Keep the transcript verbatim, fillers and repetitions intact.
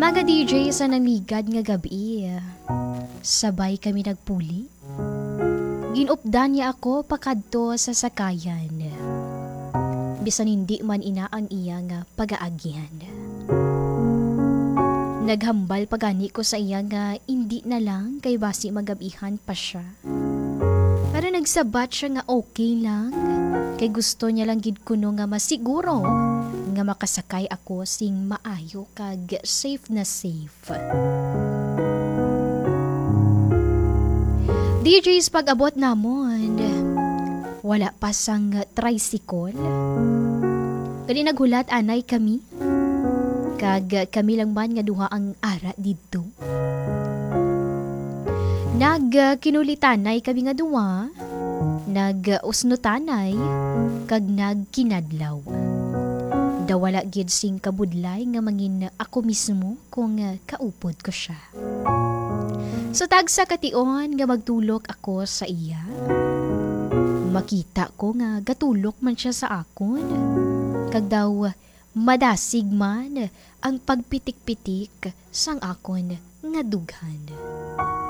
Mga D J, sa namiligad nga gab-i, sabay kami nagpuli. Ginupdan niya ako pakadto sa sakayan, bisan hindi man ina ang iya nga pagaagihan. Naghambal pa gani ko sa iya nga indi na lang kay basi magabihan pa siya. Pero nagsabat siya nga okay lang, kay gusto niya lang gid kuno nga masiguro nga makasakay ako sing maayo kag safe na safe. D Js, pag-abot namon, wala pa sang tricycle. Kani naghulat anay kami, kag kami lang man nga duha ang ara didto. Nagkinulitanay kami nga duha, nag-usnutanay, kag nagkinadlaw. Daw wala gid sing kabudlay nga mangin ako mismo kung kaupod ko sia. Sa tagsa ka tion nga magtulok ako sa iya, makita ko nga gatulok man sia sa akon, kag daw madasig man ang pagpitik-pitik sang akon nga dughan.